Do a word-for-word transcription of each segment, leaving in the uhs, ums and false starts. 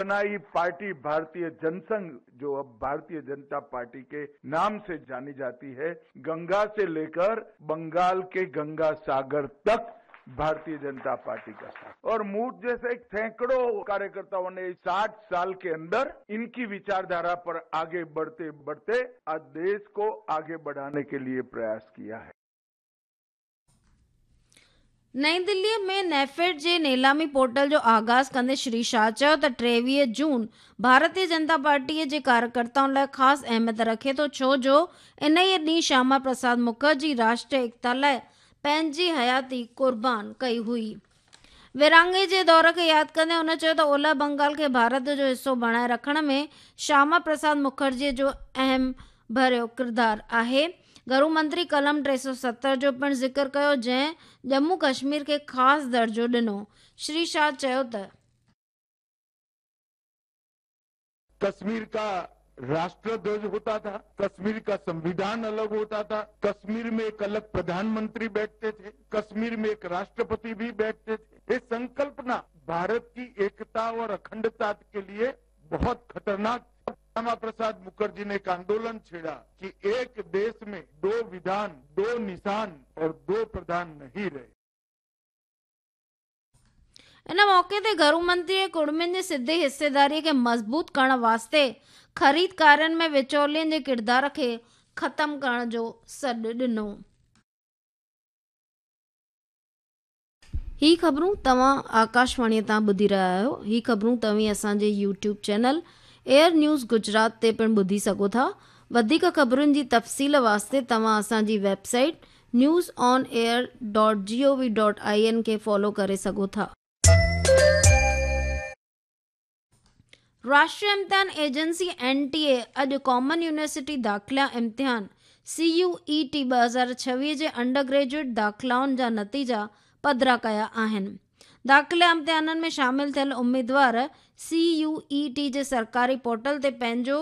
बनाई पार्टी भारतीय जनसंघ, जो अब भारतीय जनता पार्टी के नाम से जानी जाती है, गंगा से लेकर बंगाल के गंगा सागर तक भारतीय जनता पार्टी का साथ। और मुझ जैसे सैकड़ों कार्यकर्ताओं ने साठ साल के अंदर इनकी विचारधारा पर आगे बढ़ते बढ़ते आज देश को आगे बढ़ाने के लिए प्रयास किया है। नई दिल्लीअ में नेफेड जे नीलामी पोर्टल जो आगाज़ कंदे श्री शाह चयो त टेवीह जून भारतीय जनता पार्टीअ जे कार्यकर्ताउनि लाइ ख़ासि अहमियत रखे थो, छो जो इन ई ॾींहुं श्यामा प्रसाद मुखर्जी राष्ट्रीय एकता लाइ पंहिंजी हयाती क़ुर्बान कई हुई। विरहाङे जे दौर खे यादि कंदे हुन चयो त ओलह बंगाल खे भारत जो हिसो बणाए रखण में श्यामा प्रसाद मुखर्जीअ जो अहम भरियो किरदारु आहे। घरू मंत्री कलम टे सौ सत्तर जो पिणु ज़िक्र कयो, जंहिं जम्मू कश्मीर खे ख़ासि दर्जो ॾिनो। श्री शाह चयो त कश्मीर का राष्ट्रध्वज होता था, कश्मीर का संविधान अलग होता था, कश्मीर में एक अलग प्रधानमंत्री बैठते थे, कश्मीर में एक राष्ट्रपति भी बैठते थे। ये संकल्पना भारत की एकता और अखंडता के लिए बहुत खतरनाक। श्यामा प्रसाद मुखर्जी ने एक आंदोलन छेड़ा कि एक देश में दो विधान, दो निशान और दो प्रधान नहीं रहे। इन मौके ते घरू मंत्री कुड़मियुनि जी सिधी हिस्सेदारीअ खे मज़बूत करण वास्ते ख़रीदकारनि में विचौलियनि जे किरदार खे ख़तमु करण जो सॾु ॾिनो। ही ख़बरूं तव्हां आकाशवाणीअ तां ॿुधी रहिया आहियो। ही ख़बरूं तव्हीं असांजे YouTube channel air news Gujarat ते पिणु ॿुधी सघो था। वधीक ख़बरुनि जी तफ़सील वास्ते तव्हां असांजी website news on air dot G O V dot I N खे फॉलो करे सघो था। राष्ट्रीय इम्तिहान एजेंसी एन टी ए अॼु कॉमन यूनिवर्सिटी दाख़िला इम्तिहान सी यू ई टी ॿ हज़ार छवीह जे अंडर ग्रेजुएट दाख़िलाउनि जा नतीजा पधरा कया आहिनि। दाख़िला इम्तिहाननि में शामिल थियल उम्मीदवार सी यू ई टी जे सरकारी पोर्टल ते पंहिंजो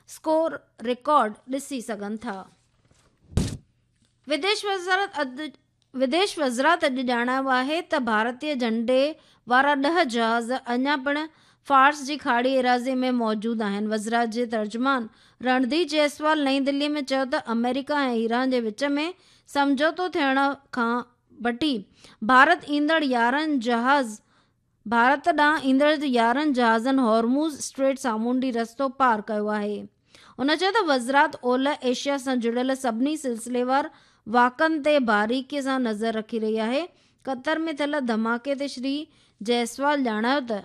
स्कोर रिकॉर्ड ॾिसी सघनि था। विदेश वज़ारत अॼु विदेश वज़ारत अॼु ॼाणायो आहे त भारतीय झंडे वारा ॾह जहाज़ अञा पिणु फार्स जी खाड़ी एराज़ी में मौजूदु आहिनि। वज़ारत जे तर्जुमान रणधीर जायसवाल नई दिल्ली में चयो त अमेरिका ऐं ईरान जे विच में सम्झौतो थियण खां वठी भारत ईंदड़ यारहं जहाज़ भारत ॾांहुं ईंदड़ यारहं जहाज़नि हॉर्मुज़ स्ट्रेट सामुंडी रस्तो पार कयो आहे। हुन चयो त वज़ारत ओलह एशिया सां जुड़ियल सभिनी सिलसिलेवार वाक़नि ते बारीकीअ सां नज़र रखी रही आहे। क़तर में थियल धमाके ते श्री जायसवाल ॼाणायो त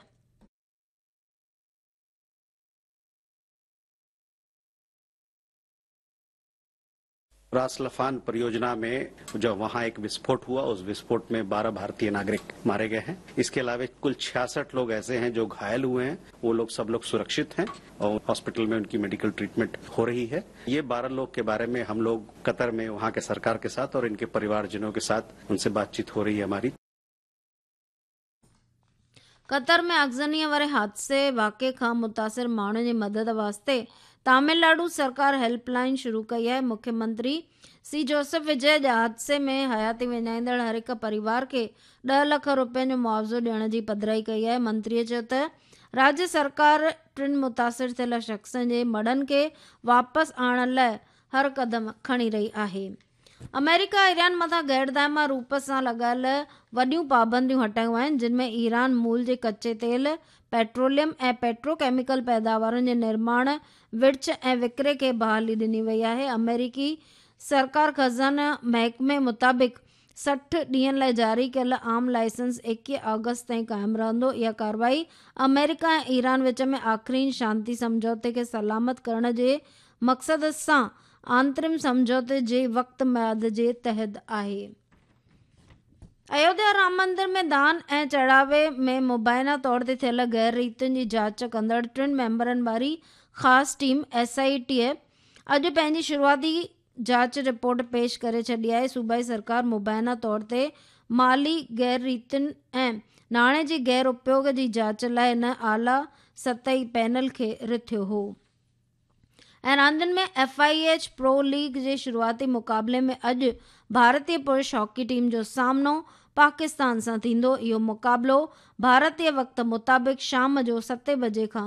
रास लफान परियोजना में जो वहां एक विस्फोट हुआ, उस विस्फोट में बारह भारतीय नागरिक मारे गए हैं। इसके अलावा कुल छियासठ लोग ऐसे हैं जो घायल हुए हैं, वो लोग सब लोग सुरक्षित हैं और हॉस्पिटल में उनकी मेडिकल ट्रीटमेंट हो रही है। ये बारह लोग के बारे में हम लोग कतर में वहां के सरकार के साथ और इनके परिवारजनों के साथ उनसे बातचीत हो रही है हमारी। कतर में आगज़नीअ वारे हादसे वाक़े खां मुतासिर माण्हुनि जी मदद वास्ते तमिलनाडु सरकार हेल्पलाइन शुरू कई आहे। मुख्यमंत्री सी जोसेफ विजय हादसे में हयाती विञाईंदड़ हर हिकु परिवार खे ॾह लख रुपयनि जो मुआवज़ो ॾियण जी पधराई कई आहे। मंत्रीअ चयो त राज्य सरकार टिनि मुतासिर थियल शख़्सनि जे मड़नि खे वापसि आणण लाइ हर क़दम खणी रही आहे। अमेरिका ईरान मथां गैर दायमा रूप सां लॻायल वॾियूं पाबंदियूं हटायूं आहिनि, जिन में ईरान मूल जे कच्चे तेल, पेट्रोलियम ऐं पेट्रोकेमिकल पैदावारुनि जे निर्माण, विर्छ ऐं विकिरे खे बहाली ॾिनी वई आहे। अमेरिकी सरकार ख़ज़ाना महकमे मुताबिक़ सठि ॾींहनि लाइ जारी कयल आम लाइसेंस एकवीह अगस्त ताईं क़ाइमु रहंदो। इहा कार्रवाई अमेरिका ऐं ईरान विच में आख़िरी शांति सम्झौते खे सलामत करण जे मक़सद सां आंतरिम सम्झौते जे वक़्त मियाद जे तहत आहे। अयोध्या राम मंदिर में दान ऐं चढ़ावे में मुबाइना तौर ते थियल गैर रीतियुनि जी जांच कंदड़ टिनि मेंबरनि वारी ख़ासि टीम एस I T अॼु पंहिंजी शुरूआती जांच रिपोर्ट पेश करे छॾी आहे। सूबाई सरकार मुबाइना तौर ते माली गैर रीतियुनि ऐं नाणे जे गैर उपयोग जी जांच लाइ हिन आला सतही पैनल खे रिथियो हो। ऐं रांदियुनि में F I H pro league जे शुरूआती मुक़ाबले में अॼु भारतीय पुरुष हॉकी टीम जो सामनो پاڪستان سان ٿيندو. اهو مقابلو ڀارتي وقت مطابق شام جو ستين بجي کان